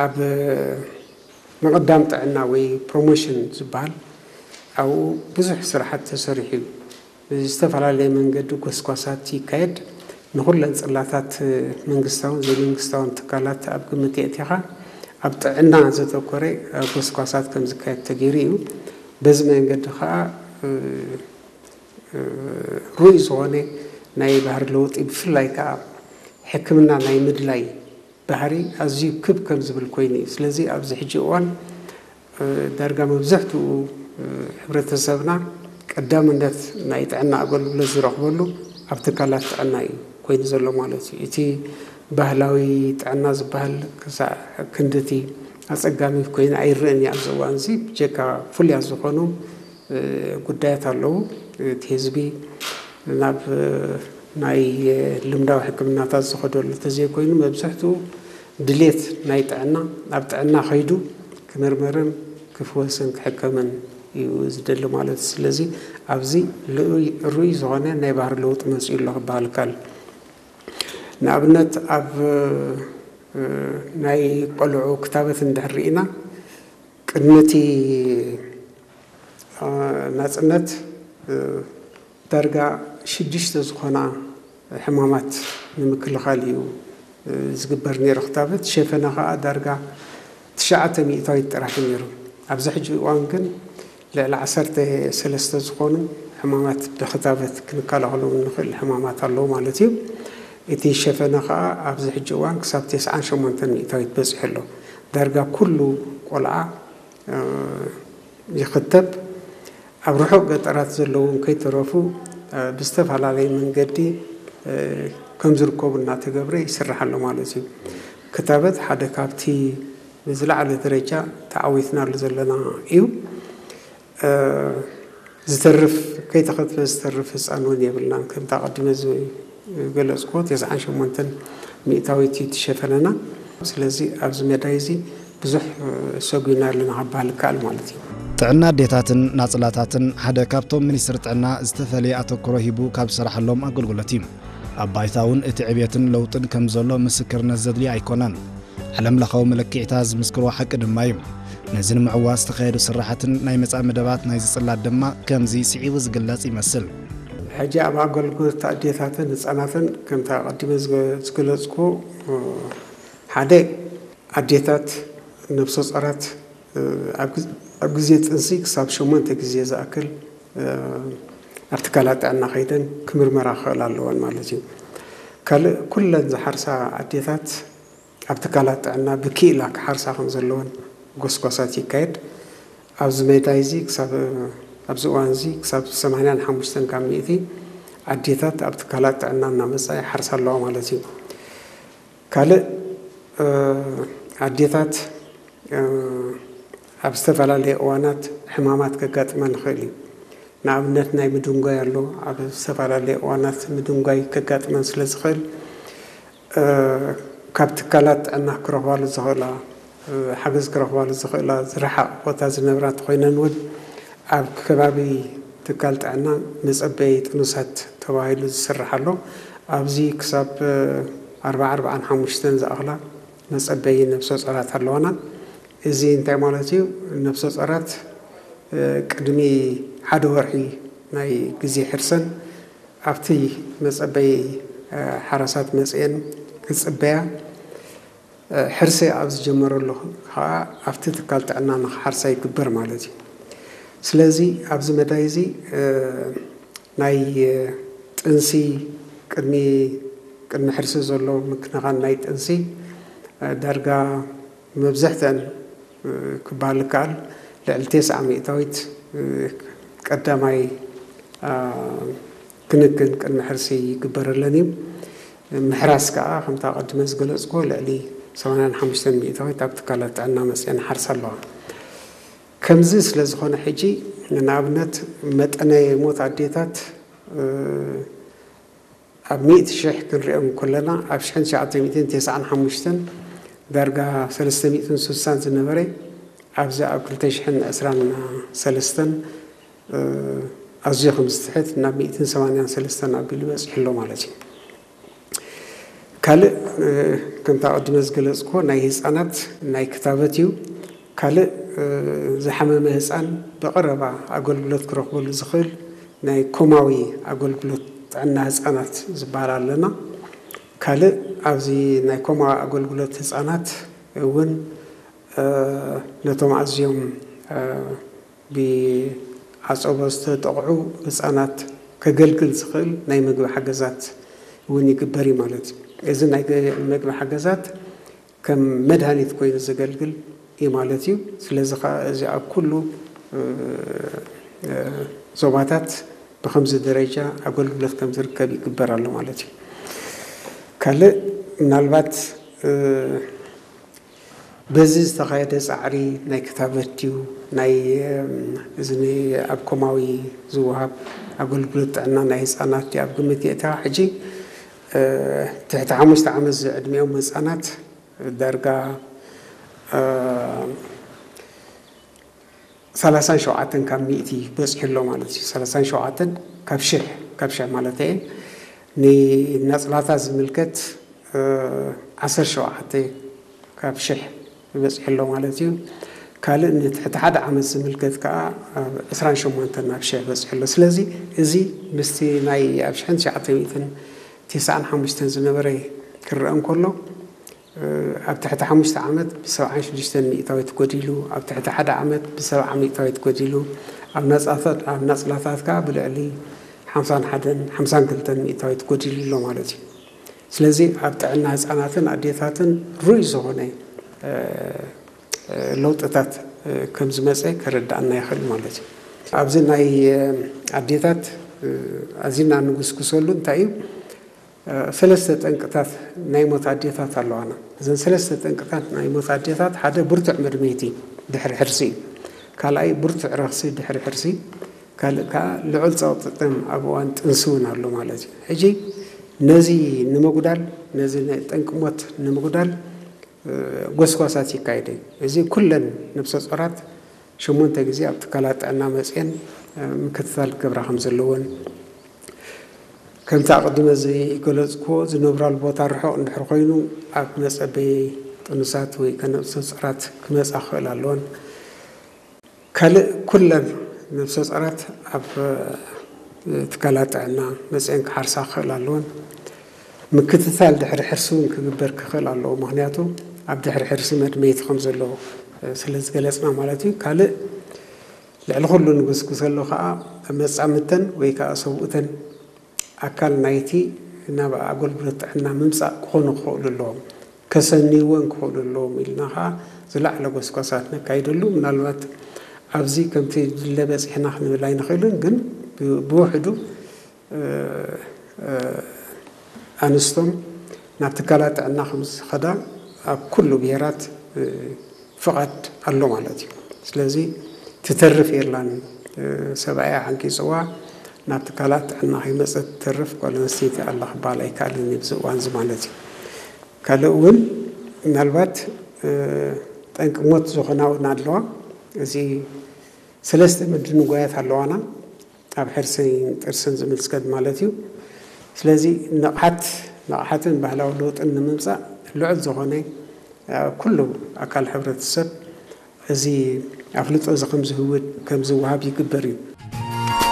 ኣብ ምቕዳም ጥዕና ወይ ፕሮሞሽን ዝበሃል ኣብኡ ብዙሕ ስራሓት ተሰሪሑ እዩ። ብዝተፈላለየ መንገዲ ጎስጓሳት ይካየድ። ንኹለን ጽላታት መንግስታውን ዘይመንግስታውን ትካላት ኣብ ግምት የእቲኻ ኣብ ጥዕና ዘተኮረ ጎስጓሳት ከም ዝካየድ ተገይሩ እዩ። በዚ መንገዲ ከዓ ርኡይ ዝኾነ ናይ ባህሪ ለውጢ ብፍላይ ከዓ ሕክምና ናይ ምድላይ ባህሪ ኣዝዩ ክብ ከም ዝብል ኮይኑ እዩ። ስለዚ ኣብዚ ሕጂ እዋን ዳርጋ መብዛሕትኡ ሕብረተሰብና ቀዳምነት ናይ ጥዕና ኣገልግሎት ዝረኽበሉ ኣብ ትካላት ጥዕና እዩ ኮይኑ ዘሎ ማለት እዩ። እቲ ባህላዊ ጥዕና ዝበሃል ክሳዕ ክንድቲ ኣጸጋሚ ኮይኑ ኣይረኣን እዩ ኣብዚ እዋን እዚ። ብጀካ ፍሉያት ዝኾኑ ጉዳያት ኣለዉ። እቲ ህዝቢ ናብ ናይ ልምዳዊ ሕክምናታት ዝኸደሉ ተዘይኮይኑ መብዛሕትኡ ድሌት ናይ ጥዕና ኣብ ጥዕና ከይዱ ክምርመርን ክፍወስን ክሕከምን እዩ ዝደሊ ማለት እዩ። ስለዚ ኣብዚ ርኡይ ዝኾነ ናይ ባህሪ ለውጢ መፅኡ ኣሎ ክበሃል ይከኣል። ንኣብነት ኣብ ናይ ቆልዑ ክታበት እንድሕር ርኢና ቅድሚ እቲ ናፅነት ዳርጋ ሽዱሽተ ዝኾና ሕማማት ንምክልኻል እዩ ዝግበር ነይሩ ክታበት። ሸፈነ ከዓ ዳርጋ ትሽዓተ ሚእታዊት ጥራሕ እዩ ነይሩ። ኣብዚ ሕጂ እዋን ግን ልዕሊ ዓሰርተ ሰለስተ ዝኾኑ ሕማማት ብክታበት ክንከላኸሎም እንኽእል ሕማማት ኣለዉ ማለት እዩ። እቲ ሸፈነ ከዓ ኣብዚ ሕጂ እዋን ክሳብ ተስዓን ሸሞንተን ሚእታዊት በፂሑ ኣሎ። ዳርጋ ኩሉ ቆልዓ ይኽተብ። ኣብ ርሑቕ ገጠራት ዘለዉ ከይተረፉ ብዝተፈላለየ መንገዲ ከም ዝርከቡ እናተገብረ ይስራሕ ኣሎ ማለት እዩ። ክታበት ሓደ ካብቲ ብዝለዓለ ደረጃ ተዓዊትናሉ ዘለና እዩ። ዝተርፍ ከይተኸትበ ዝተርፍ ህፃን እውን የብልናን። ከምቲ ኣቐዲመ ዝገለፅኩዎ ተስዓን ሸሞንተን ሚእታዊት እዩ ትሸፈነና። ስለዚ ኣብዚ መዳይ እዚ ብዙሕ ሰጒና ኣለና ክበሃል ይከኣል ማለት እዩ። ጥዕና ኣዴታትን ናፅላታትን ሓደ ካብቶም ሚኒስትሪ ጥዕና ዝተፈለየ ኣተኩሮ ሂቡ ካብ ዝሰራሓሎም ኣገልግሎት እዩ። ኣብ ባይታ እውን እቲ ዕብየትን ለውጥን ከም ዘሎ ምስክርነት ዘድልዮ ኣይኮነን። ዓለምለኻዊ መለክዒታት ዝምስክርዎ ሓቂ ድማ እዩ። ነዚ ንምዕዋት ዝተኻየዱ ስራሓትን ናይ መጻኢ መደባት ናይዚ ጽላት ድማ ከምዚ ስዒቡ ዝግለጽ ይመስል። ሕጂ ኣብ ኣገልግሎት ኣዴታትን ህጻናትን ከምቲ ኣቐዲመ ዝገ-፣ ዝገለጽኩ ሓደ ኣዴታት ነብሰ ጾራት ኣብ ግዜ ጥንሲ ክሳብ ሸሞንተ ግዜ ዝኣክል ኣብ ትካላት ጥዕና ከይደን ክምርመራ ክኽእላ ኣለወን ማለት እዩ። ካልእ ኩለን ዝሓርሳ ኣዴታት ኣብ ትካላት ጥዕና ብክኢላ ክሓርሳ ከም ዘለወን ጎስጓሳት ይካየድ። ኣብዚ መዳይ እዚ ክሳብ ኣብዚ እዋን እዚ ክሳብ ሰማንያን ሓሙሽተን ካብ ሚእቲ ኣዴታት ኣብ ትካላት ጥዕና እናመጻ ይሓርሳ ኣለዋ ማለት እዩ። ካልእ ኣዴታት ኣብ ዝተፈላለየ እዋናት ሕማማት ከጋጥመን ይኽእል እዩ። ንኣብነት ናይ ምድንጓይ ኣሎ። ኣብ ዝተፈላለየ እዋናት ምድንጓይ ከጋጥመን ስለ ዝኽእል ካብ ትካላት ጥዕና ክረኽባሉ ዝኽእላ ሓገዝ ክረኽባሉ ዝኽእላ ዝረሓቕ ቦታ ዝነብራ እንተኾይነን እውን ኣብ ከባቢ ትካል ጥዕና መፀበዪ ጥኑሳት ተባሂሉ ዝስራሕ ኣሎ። ኣብዚ ክሳብ ኣርባዓ ኣርባዓን ሓሙሽተን ዝኣኽላ መፀበዪ ነብሰ ጾራት ኣለዋና። እዚ እንታይ ማለት እዩ? ነብሰ ጾራት ቅድሚ ሓደ ወርሒ ናይ ግዜ ሕርሰን ኣብቲ መጸበይ ሓራሳት መጽየን ክጽበያ ሕርሲ ኣብ ዝጀመረሉ ከዓ ኣብቲ ትካል ጥዕና ንክሓርሳ ይግበር ማለት እዩ። ስለዚ ኣብዚ መዳይ እዚ ናይ ጥንሲ ቅድሚ ቅድሚ ሕርሲ ዘሎ ምክንኻን ናይ ጥንሲ ዳርጋ መብዝሕተን ክበሃል ይከኣል ልዕሊ ተስዓ ሚእታዊት ቀዳማይ ክንክን ቅድሚ ሕርሲ ይግበረለን እዩ። ምሕራስ ከዓ ከምታ ቀድመ ዝገለፅኩ ልዕሊ ሰማንያን ሓሙሽተን ሚእታዊት ኣብ ትካላት ጥዕና መፅአን ሓርሳ ኣለዋ። ከምዚ ስለ ዝኾነ ሕጂ ንኣብነት መጠነ ሞት ኣዴታት ኣብ ሚእቲ ሽሕ ክንሪኦም ከለና ኣብ ሽሕን ትሽዓተ ሚእትን ተስዓን ሓሙሽተን ዳርጋ ሰለስተ ሚእትን ስሳን ዝነበረ ኣብዚ ኣብ ክልተ ሽሕን ዕስራን ሰለስተን ኣዝዩ ከም ዝትሕት ናብ ሚእትን ሰማንያን ሰለስተን ኣቢሉ በፂሑ ኣሎ ማለት እዩ። ካልእ ከምቲ ኣቐዲመ ዝገለፅኩዎ ናይ ህፃናት ናይ ክታበት እዩ። ካልእ ዝሓመመ ህፃን ብቐረባ ኣገልግሎት ክረኽበሉ ዝኽእል ናይ ኮማዊ ኣገልግሎት ጥዕና ህፃናት ዝበሃል ኣለና። ካልእ ኣብዚ ናይ ኮማዊ ኣገልግሎት ህፃናት እውን ነቶም ኣዝዮም ብዓፀቦ ዝተጠቕዑ ህፃናት ከገልግል ዝኽእል ናይ ምግቢ ሓገዛት እውን ይግበር እዩ ማለት እዩ። እዚ ናይ ምግቢ ሓገዛት ከም መድሃኒት ኮይኑ ዘገልግል እዩ ማለት እዩ። ስለዚ ከዓ እዚ ኣብ ኩሉ ዞባታት ብከምዚ ደረጃ ኣገልግሎት ከም ዝርከብ ይግበር ኣሎ ማለት እዩ። ካልእ ምናልባት በዚ ዝተኻየደ ፃዕሪ ናይ ክታበት ድዩ ናይ እዚ ኣብ ኮማዊ ዝወሃብ ኣገልግሎት ጥዕና ናይ ህፃናት ድዩ ኣብ ግምት የእተዋ። ሕጂ ትሕቲ ሓሙሽተ ዓመት ዝዕድሚኦም ህፃናት ዳርጋ ሰላሳን ሸውዓተን ካብ ሚእቲ በፂሑ ኣሎ ማለት እዩ። ሰላሳን ሸውዓተን ካብ ሽሕ ካብ ሽሕ ማለት እየ። ንናፅላታት ዝምልከት ዓሰርተ ሸውዓተ ካብ ሽሕ በፂሑ ኣሎ ማለት እዩ። ካልእ ንትሕቲ ሓደ ዓመት ዝምልከት ከዓ ዕስራን ሸሞንተን ናብ ሽሕ በፂሑ ኣሎ። ስለዚ እዚ ምስቲ ናይ ኣብ ሽሕን ትሽዓተ ሚእትን ተስዓን ሓሙሽተን ዝነበረ ክረአ እንከሎ ኣብ ትሕቲ ሓሙሽተ ዓመት ብሰብዓን ሽዱሽተን ሚእታዊት ጎዲሉ፣ ኣብ ትሕቲ ሓደ ዓመት ብሰብዓ ሚእታዊት ጎዲሉ፣ ኣብ ናፅላታት ከዓ ብልዕሊ ሓምሳን ሓደን ሓምሳን ክልተን ሚእታዊት ጎዲሉ ኣሎ ማለት እዩ። ስለዚ ኣብ ጥዕና ህፃናትን ኣዴታትን ርኡይ ዝኾነ ለውጥታት ከም ዝመፀ ከረዳእና ይኽእል ማለት እዩ። ኣብዚ ናይ ኣዴታት ኣዚና ንጉስጉሰሉ እንታይ እዩ? ሰለስተ ጠንቅታት ናይ ሞት ኣዴታት ኣለዋና። እዘን ሰለስተ ጠንቅታት ናይ ሞት ኣዴታት ሓደ ብርቱዕ መድመይቲ ድሕሪ ሕርሲ እዩ። ካልኣይ ብርቱዕ ረኽሲ ድሕሪ ሕርሲ፣ ካልእ ከዓ ልዑል ፀቕጢ ጥም ኣብ እዋን ጥንሲ እውን ኣሎ ማለት እዩ። ሕጂ ነዚ ንምጉዳል፣ ነዚ ናይ ጠንቂ ሞት ንምጉዳል ጎስጓሳት ይካየድ እዩ። እዚ ኩለን ነብሰ ጾራት ሸሞንተ ግዜ ኣብ ትካላት ጥዕና መፅየን ምክትታል ክገብራ ከም ዘለወን፣ ከምቲ ኣቐዲመ ዝገለፅኩዎ ዝነብራሉ ቦታ ርሑቕ እንድሕር ኮይኑ ኣብ መፀበዪ ጥኑሳት ወይ ከነብሰ ጾራት ክመፃ ክኽእል ኣለወን። ካልእ ኩለን ነብሰ ጾራት ኣብ ትካላት ጥዕና መፅየን ክሓርሳ ክኽእል ኣለወን። ምክትታል ድሕሪ ሕርሲ እውን ክግበር ክኽእል ኣለዎ። ምክንያቱ ኣብ ድሕሪ ሕርሲ መድመይቲ ከም ዘሎ ስለ ዝገለፅና ማለት እዩ። ካልእ ልዕሊ ኩሉ ንጉስጉሰሉ ከዓ መፃምድተን ወይ ከዓ ሰብኡተን ኣካል ናይቲ ናብ ኣገልግሎት ጥዕና ምምፃእ ክኾኑ ክኽእሉ ኣለዎም፣ ከሰንይወን ክኽእሉ ኣለዎም ኢልና ከዓ ዝለዓለ ጎስጓሳት ነካይደሉ። ምናልባት ኣብዚ ከምቲ ድለ በፂሕና ክንብል ኣይንኽእልን፣ ግን ብውሕዱ ኣንስቶም ናብ ትካላት ጥዕና ከም ዝኸዳ ኣብ ኩሉ ብሄራት ፍቓድ ኣሎ ማለት እዩ። ስለዚ ትተርፍ የላን። ሰብኣያ ሓንቂፅዋ ናብ ትካላት ጥዕና ከይመፀት ትተርፍ ጓል ኣንስተይቲ ኣላ ክበሃል ኣይከኣልን ኣብዚ እዋን እዚ ማለት እዩ። ካልእ እውን ምናልባት ጠንቂ ሞት ዝኾና እውን ኣለዋ። እዚ ሰለስተ ምድንጓያት ኣለዋና ኣብ ሕርሲን ጥርሲን ዝምልከት ማለት እዩ። ስለዚ ንቕሓት ንቕሓትን ባህላዊ ለውጥን ንምምፃእ ልዑል ዝኾነ ኩሉ ኣካል ሕብረተሰብ እዚ ኣፍልጦ እዚ ከም ዝህውድ ከም ዝወሃብ ይግበር እዩ።